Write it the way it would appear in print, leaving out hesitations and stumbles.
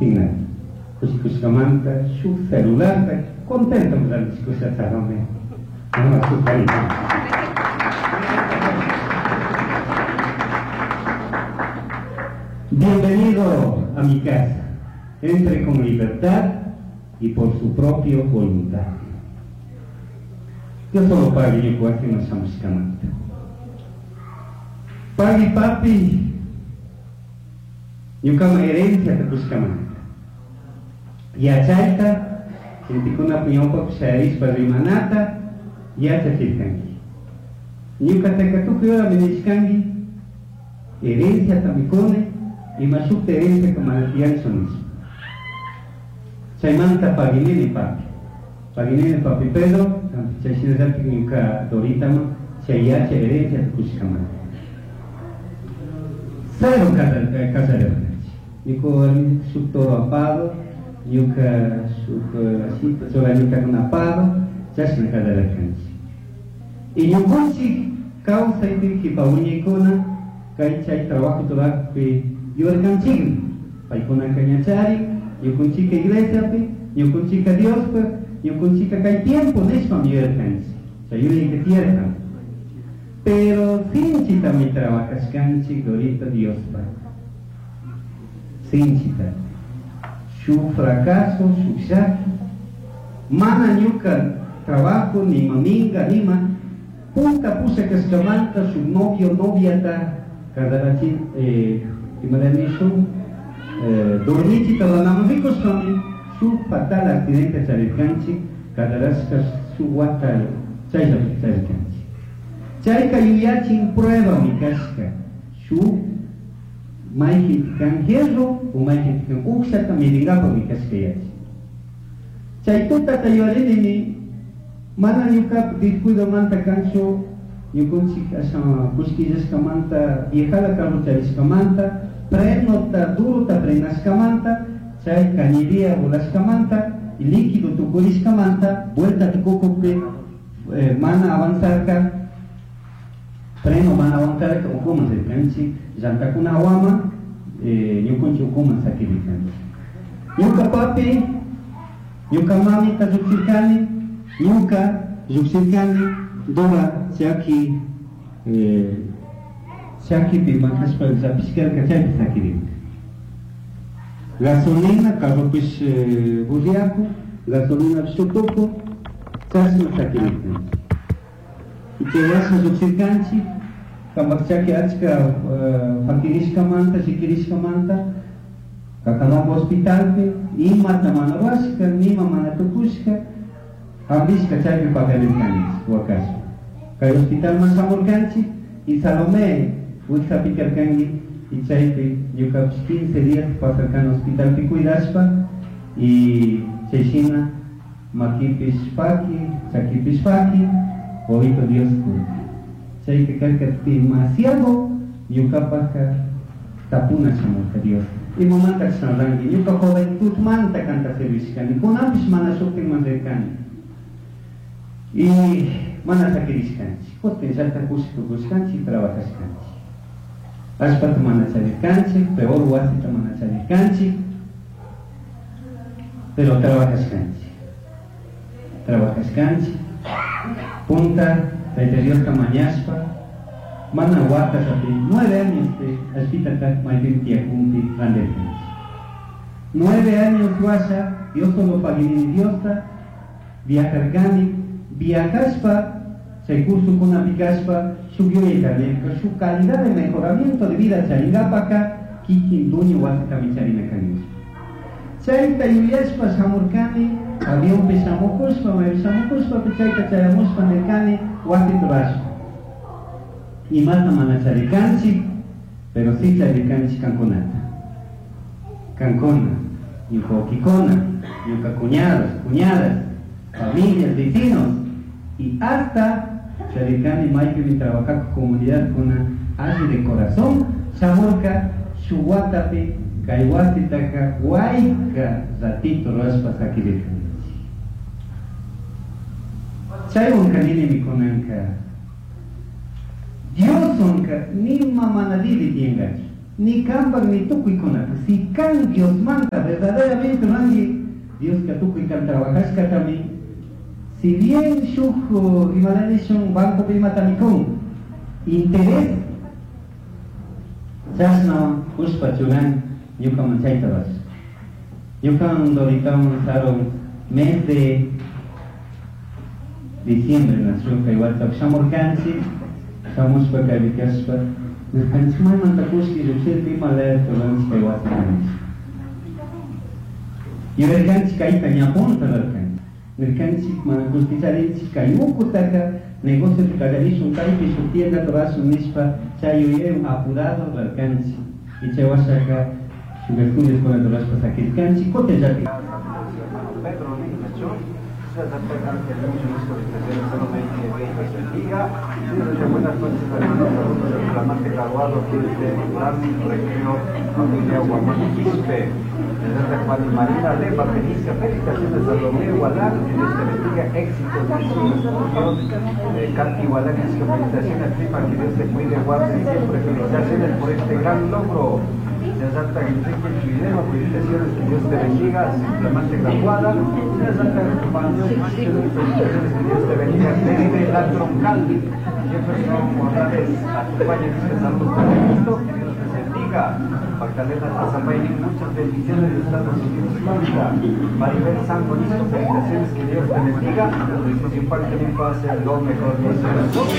Sin nadie. Kushikushkamanta shuk celularta contento rantikusha Salomé. Mama shuk. Bienvenido a mi casa. Entre con libertad y por su propia voluntad. Yo solo pagui ñuka wasiman shamushkamanta. Pagui papi ñukaman herenciata kushkamanta. Yachayta gentekunapa ñawpapi shayarishpa rimanata yachachirkanki. Ñukataka tukuy horami nishkanki herenciata mikuni ima shukta herenciaka mana tiyanchu nishpa. Chaymanta paguinini papi. Paguinini papi Pedro, chay shinallatik ñuka Doritaman chay yachay herenciata kushkamanta. Cero casarirkanchik. Ñuka warmi shuk toro apado, ñuka shuk ashita churanitakuna apado, chashna casarirkanchik. Y ñukanchik kawsaypi kipa wiñaykuna kay chay trabajo turakpi yurkanchikmi. Paykunaka ñachari, ñukanchika iglesiapi, ñukanchika Diospaj, ñukanchika kay tiempo nishpami yuyarkanchik. Chay yuyayka tiyarkan. Pero sinchitami trabajashkanchik Dorita Diospaj. Sinchita. Shuk fracaso, shuk llaki. Mana ñuka trabajo, nima minga, nima punta pusha kashkamanta shuk novio, noviata casarachi, imara nishun, dormichita runaman rikushpami shuk fatal accidente charirkanchik, casarashka shuk wata chayllapi charirkanchik. Chayka yuyachin pruebami kashka, shuk mayqin kan hierro o mayqin kan uqshata midinkapaqmi kashka yachin. Chay tutata yuyarinimi mana ñuka descuidomanta kanchu ñukunchik asha kullkillashkamanta viejala carro charishkamanta frenota durota frenashkamanta chay cañería volashkamanta y líquido tukurishkamanta vuelta tukukukpi mana avanzarka freno mana avanzarka ukuman rirkanchik llantakuna hawaman ñukunchik ukuman sakirirkanchik. Ñuka papi, ñuka mamita llukshirkani, ñuka llukshirkani Dora chaki chakipi makashpa llapishkarka chaypi sakirirka. Gasolina carropish burriaku, gasolina tuku, chashna sakirirkanchik. Y chay washa llukshirkanchik, kampak chaki achka fakirishkamanta, shikirishkamanta, Cacalombo hospitalpi, imata mana rurashka, nima mana tukushka, hambishka chaypi pakarirkanchik, wakashpa. Kay hospitalman shamurkanchik, y Salomé wiksapi karkanki, y chaypi ñukapish 15 días pasarkani hospitalpi cuidashpa, y chayshina makipish paki, chakipish paki, wawito Dios kurka. Chayka karka demasiado ñukapajka tapuna shamurka Dios. Imamanta chashna ñuka joventudmanta kanta servishkani, kunanpish mana shuktinman rirkani. Y mana sakirishkanchik, kutin llakta kushikushkanchik, trabajashkanchik. Allpata mana charirkanchik, peor wasita mana charirkanchik, pero trabajashkanchik. Trabajashkanchik, punta Tayta Diosta mañashpa, mana watallapi 9 años allpitata maypimi tiyakunpi randirkanchik. 9 años washa, Dios solo paguinini Diosta, viajarkani, viajashpa, chay cursokunapi kashpa, shuk yuyayta nirka, shuk calidad de mejoramiento de vida charingapaka, kikin dueño wasitami charina kanchik. Chayta yuyashpa shamurkani, avionpi shamukushpa, maypi shamukushpa, chayta chayamushpa nirkani, wasita rurashpa. Imata mana charirkanchik, pero sí charirkanchik kankunata. Kankuna, ñuka wawkikuna, ñuka cuñados, cuñadas, familias, vecinos, y hasta charirkani maypimi trabajaku comunidad kuna alli de corazón, shamurka shuk watapi kay wasitaka wayka ratito rurashpa sakirirkanchik. Chaywan kaninimi kunanka Dioswanka nima mana diri tiyankachu, Ni kanpak ni tukuykunata. Si kan Diosmanta verdaderamente ruranki, Dioska tukuy kan trabajashkatami, si bien shuk imalanishun bancopi imatami kun, interés, chashna kushpa churan ñukaman chayta rurash. Ñukan Doritawan sarun mes de diciembre nació kay wata shamurkanchik, shamushpa kaypi kashpa, nirkanchik maymanta kullki llukshirka ima layata ruranchik kay wasita nishpa. Yuyarkanchik kayta ña punta rurarkanchik. Nirkanchik mana kullki charinchik kay ukutaka negociota kallarishun kaypi shuk tiendata rurashun nishpa chay yuyaywan apurado rurarkanchik. Y chay washaka shuk estudioskunata rurashpa sakirkanchik kutinllatik. Pedro Niño, Dios les buenas noches, hermanos, saludos del flamante graduado aquí desde Gran Recreo, familia Guamán Quispe. Desde Juan y Marina Leva, Benicia, felicitaciones a Romeo Gualán, que Dios te bendiga, éxitos en sus estudios. Katy Gualán, felicitaciones, prima, que Dios te cuide, guarde siempre, felicitaciones por este gran logro. Santa Enrique Chuidema, felicitaciones, que Dios te bendiga, su flamante graduada. Santa felicitaciones, que Dios te bendiga desde la troncal. Jefferson Morales, acompaña dice saludos con gusto, que Dios les bendiga. Magdalena Tazambay, muchas bendiciones de Estados Unidos, Florida. Maribel San Bonito, felicitaciones, que Dios te bendiga. Y parte mi pase lo mejor.